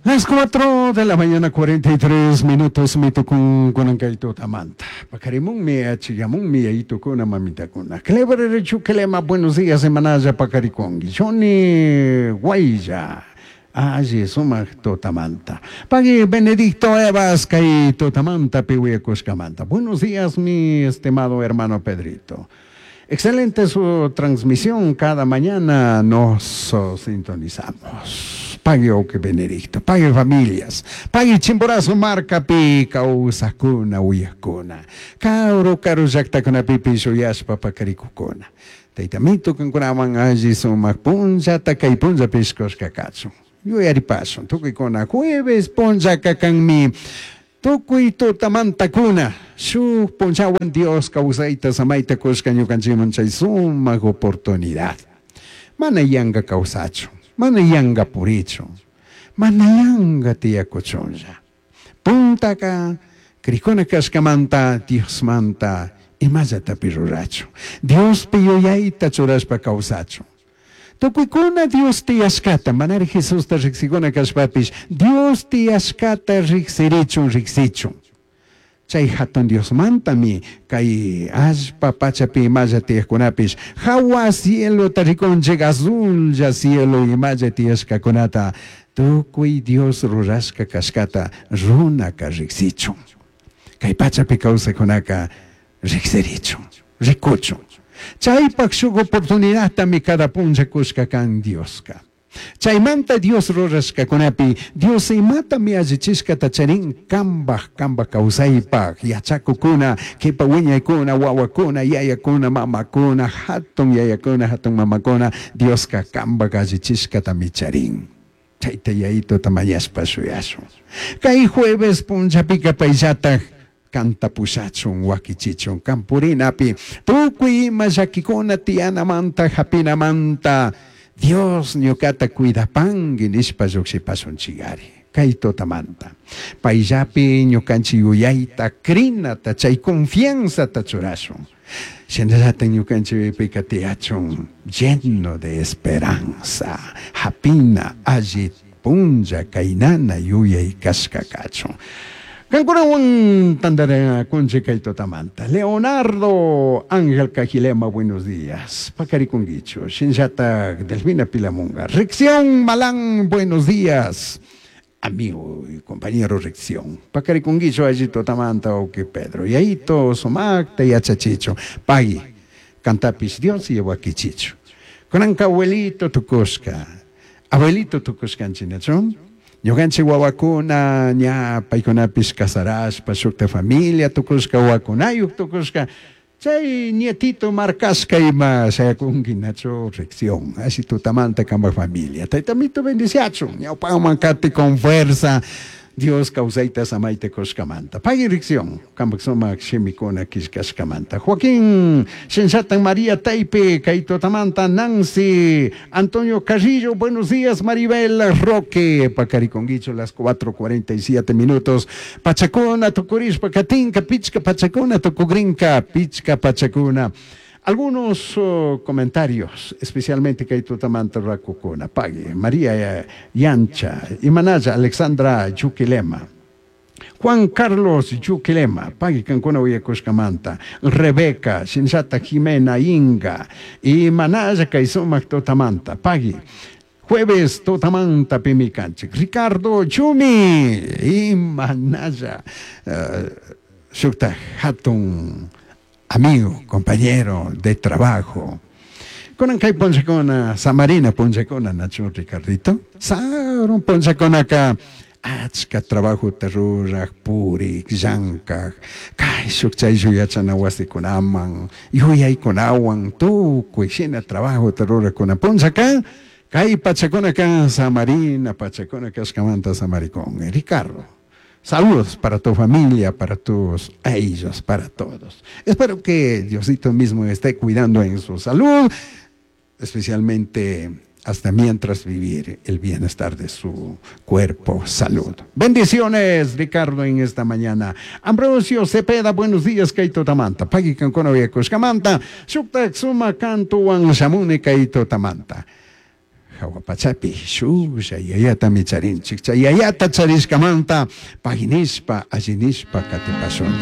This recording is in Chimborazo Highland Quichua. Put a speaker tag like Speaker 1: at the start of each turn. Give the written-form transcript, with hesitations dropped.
Speaker 1: Las 4 de la mañana 43 minutos mitukun kunan kay tutamanta. Paqarimunmi achiyamunmi yayitukuna mamitakuna. Clever Chuquilema, buenos días semanalla paqarikunki. Johnny Guaylla. Alli sumaq tutamanta. Pagui Benedicto Evas kay tutamanta piwiyakushkamanta. Buenos días mi estimado hermano Pedrito. Excelente su transmisión, cada mañana nos sintonizamos. Pague que Benedicto, pague familias, pague Chimborazo markapi kawsakuna uyakuna, karu karu llaktakunapipish uyashpa pakarikukuna. Taytamito kankunaman alli sumak punllata kay punllapish kushka kachun. Yuyaripashun, tukuykuna jueves punllaka kanmi. Tukuy tutamantakuna shuk punllawan Dios kawsayta samayta kushka ñukanchikman chay sumak oportunidad. Mana yanka kawsachun, mana yanka purichun, mana yanka tiyakuchunlla. Puntaka krikuna kashkamanta Diosmanta imallatapi rurachun. Diospi yuyayta churashpa kawsachun. Tukuykuna Dios tiyashkata, manari Jesusta riqsikuna kashpapish, Dios tiyashkata riqsirichun riqsichun. Chay hatun Diosmantami kay allpa pachapi imalla tiyaqkunapish, hawa cielota rikunchik azulla cielo imalla tiyashkakunata, tukuy Dios rurashka kashkata runaka riqsichun. Kay pachapi kawsaykunaka riqsirichun, rikuchun. Chaypaq shuk oportunidadtami cada punlla kushka kan Dioska. Chaymanta Dios rurashkakunapi, Dios imatami allichishkata charin kambaj, kambaj kawsaypaq, yachakukuna, kipa wiñaykuna, wawakuna, yayakuna, mamakuna, hatun yayakuna, hatun mamakuna, Dioska kambaj allichishkatami charin. Chayta yayituta mañashpa shuyashun. Kay jueves punllapika payllataj kanta pushachun, wakichichun, kampurinapi, tukuy ima llakikuna tiyanamanta, hapinamanta, Dios ñukata cuidapanki nishpa llukshipashunchikari. Kay tutamanta. Payllapi ñukanchik yuyayta, crinata, chay confianzata churashun. Shinallata ñukanchikpika tiyachun lleno de esperanza, hapina alli punlla kaynana yuyay kashka kachun. Kankunawan tantanakunchik kay tutamanta. Leonardo Ángel Cajilema, buenos días. Paqarikunkichu, shinllatak Delfina Pilamunga. Rección Malán, buenos días. Amigo y compañero Rección. Paqarikunkichu alli tutamanta, oki Pedro. Yayito, sumakta yachachichu. Pagui, kantapish Dios wakichichu. Kunanka abuelito tukushka. Abuelito tukushkanchik, Ñukanchik wawakuna ña paykunapish casarashpa shukta familia tukushka wawakunayuk tukushka chay nietito markashka ima shayakunki nachu rección así tutamanta kambaj familia taytamito bendiciachun ñawpaman kati con fuerza Dios kawsayta samayta kushkamanta. Pagui rección, kambaj sumak shimikuna killkashkamanta. Joaquín Shinshatan María Taipe, kay tutamanta Nancy, Antonio Carrillo, buenos días Maribel Roque, paqarikunkichu las 4:47 minutos. Pachakuna tukurishpa katinka, pichka pachakuna tukugrinka, pichka pachakuna. Algunos comentarios, especialmente kay tutamanta rakukuna. Pagui, María Yancha, Imanaya, Alexandra Yuquilema, Juan Carlos Yuquilema, pagui kankuna uyakushkamanta, Rebeca, Shinshata Jimena Inga, Imanaya kay sumak tutamanta, pagui. Jueves tutamanta pimikanchik, Ricardo Chumi, Imanaya, shukta hatun amigo, compañero de trabajo. Kunan kay punllakuna, Samarina punllakuna, nachu Ricardito. Sarun punllakunaka, achka trabajota ruraj, purik, llankaj, kayshuk chayshuk yachana wasikunaman, yuyaykunawan, tukuy shina trabajota rurakuna punllaka, kay pachakunaka Samarina pachakuna kashkamanta samarikun. Ricardo, saludos para tu familia, para tus ellos, para todos. Espero que Diosito mismo esté cuidando en su salud, especialmente hasta mientras vivir el bienestar de su cuerpo, salud. Bendiciones, Ricardo, en esta mañana. Ambrosio Cepeda, buenos días, Kaito Tamanta. Pagui kankuna uyakushkamanta. Shuktak suma kantuwan shamuni Kaito Tamanta. Jahua pachapi shujlla yayatami charinchik. Chay yayata charishkamanta pay nishpa, alli nishpa katipashunchik.